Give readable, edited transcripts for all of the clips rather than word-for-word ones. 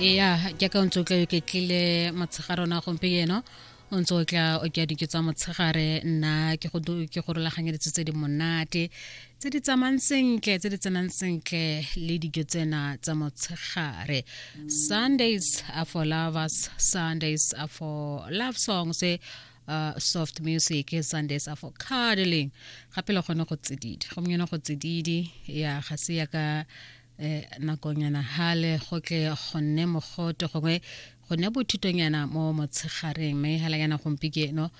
Ya jaaka o ntse o tla o iketlile motshegare ona gompieno, o ntse o tla o ke dijo tsa motshegare, nna ke go ke go rulaganyeditse tse di monate, tse di tsamayng sentle, tse di tsenang sentle le dijo tsena tsa motshegare. Sundays are for lovers, Sundays are for love songs, soft music, Sundays are for cuddling, gape le gone go tsididi gompieno, go tsididi ya ga se ya ka nakonyana hale go tle go nne mogote, gongwe go nne bothitonyana mo motshegareng, mme hela yana gompieno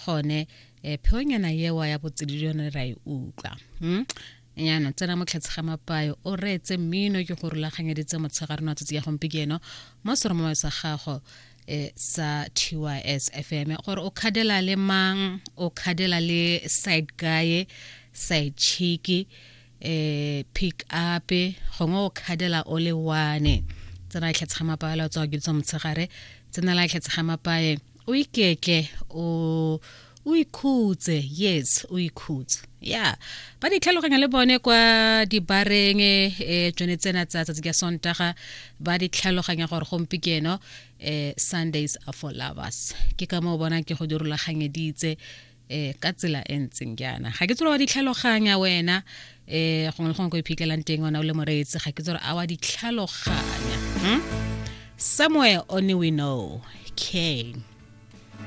gone pheonyana yewa ya botsididi yone ra e utlwa. Yana tsena mo tlhatse ga mapayo, o reetse mmino ke go rulaganyeditse motshegare wa tsatsi ya gompieno mo seromong sa gago sa TYS FM, gore o khadela le mang, o khadela le side guy, side chick, pick up, gongwe o khadela o le one. Tsena tlhatse ga mapaye la tswa ke tsa motshegare, tsena la tlhatse ga mapaye, o iketle, o ikhutse. Yes, o ikhutse ya ba di tlhaloganya le bone kwa dibareng tsone tsena tsa tsatsi ka Sontaga, ba di tlhaloganya gore gompieno Sundays are for lovers. Ke ka moo bona ke go di rulaganyeditse ka tsela e ntseng jaana. Ga ke tsore wa di tlhaloganya wena, gongwe le gongwe ko iphitlhelang teng wena o le moreetsi, ga ke tsore a wa di tlhaloganya. Somewhere only we know. Kane.